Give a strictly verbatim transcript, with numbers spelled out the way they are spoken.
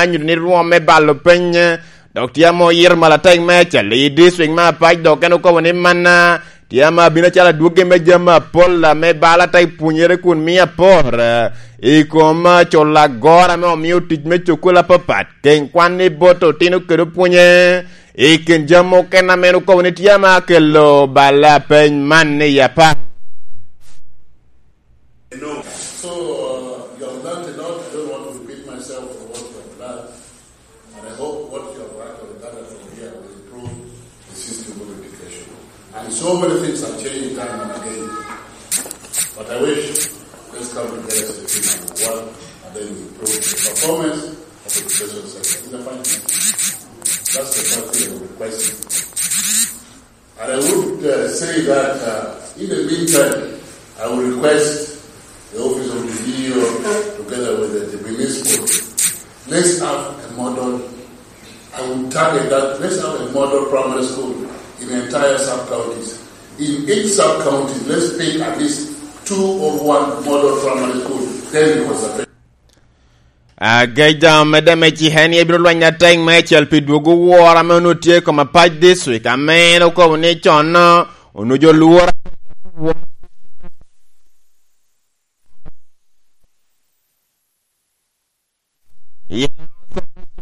nyuto ni rwom me balo peny, dok tye ame oyito malatek me acel i district me Apac, dok en okobo ni manna tye ame abino acalo adwoggi me jami apol ame balo atek pwonyere kun mio apor, eh, i kom, eh, culo agora ame omio tic me cukul apapat, keny kwan i bot otino kede opwonye. I kin jami okene ame en okobo ni tye ame akelo balo apeny man i Apac. No. So, uh, you have learned a lot. I don't want to repeat myself for what you have learned. And I hope what you have actually gathered from here will improve the system of education. And so many things are changing time and again. But I wish, let's come together as a team and work, and then we improve the performance of the education sector in the finance. That's the first thing I would request. And I would, uh, say that, uh, in the meantime, I will request the office of the D E O together with the, the municipal, let's have a model. I will target that. Let's have a model primary school in the entire sub-counties. In each sub-county, let's pick at least two or one model primary school. Then it was a Agejam medde me cik en ebino lweny atek me acel pi dwogo woro ame onwoŋo tye i kom Apac District, ame en okobo ni con onwoŋo jo lworo